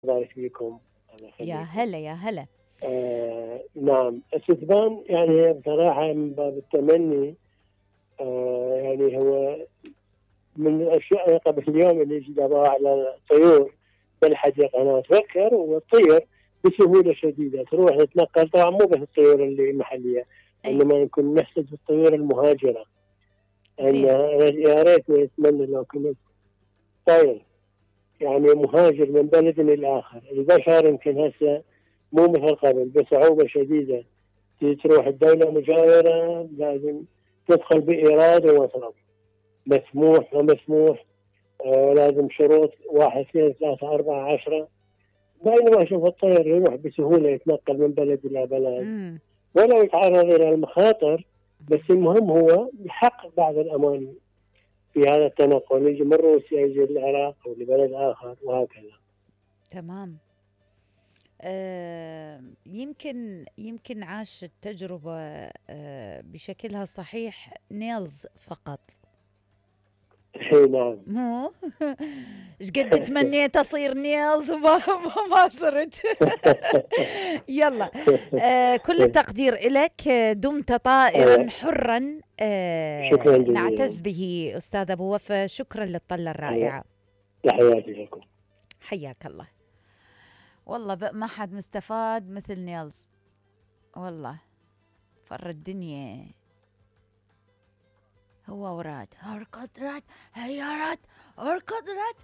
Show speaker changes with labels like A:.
A: بارك فيكم. الله
B: يا
A: يخليكم.
B: هلا يا هلا.
A: نعم، الستبان يعني بصراحة من باب التمني. يعني هو من الأشياء قبل اليوم اللي جابوها على الطيور بالحديقة، أنا أتذكر وتطير بسهولة شديدة، تروح تتنقل، طبعا مو بس الطيور اللي المحلية،
B: اي
A: إنما يكون نحسد الطيور المهاجرة. أن
B: زين.
A: يا ريت نتمنى لو كنت طير يعني مهاجر من بلد للآخر. البشر يمكن هسه مو مثل قبل، بصعوبة شديدة تروح الدولة مجاورة لازم تدخل بإيراد ومصرف، مسموح ومسموح. لازم شروط 1 2 3 4 10. بينما أشوف الطير يروح بسهولة، يتنقل من بلد إلى بلد
B: امم
A: ولو يتعرض إلى المخاطر، بس المهم هو يحقق بعض الأمان في هذا التنقل، يجي من روسيا يجي للعراق أو لبلد آخر وهكذا.
B: تمام. يمكن عاش التجربة بشكلها الصحيح نيلز فقط.
A: اي نعم.
B: مو ايش قد تمنيت اصير نيلز وما صرت. يلا. كل التقدير لك. دمت طائرا حرا.
A: شكرا
B: نعتز
A: جزيلا.
B: به استاذ ابو وفا. شكرا للطلة الرائعة.
A: تحياتي لكم.
B: حياك الله. والله ما حد مستفاد مثل نيلز. والله فر الدنيا. هو وراد اركض راد، هيا راد اركض راد.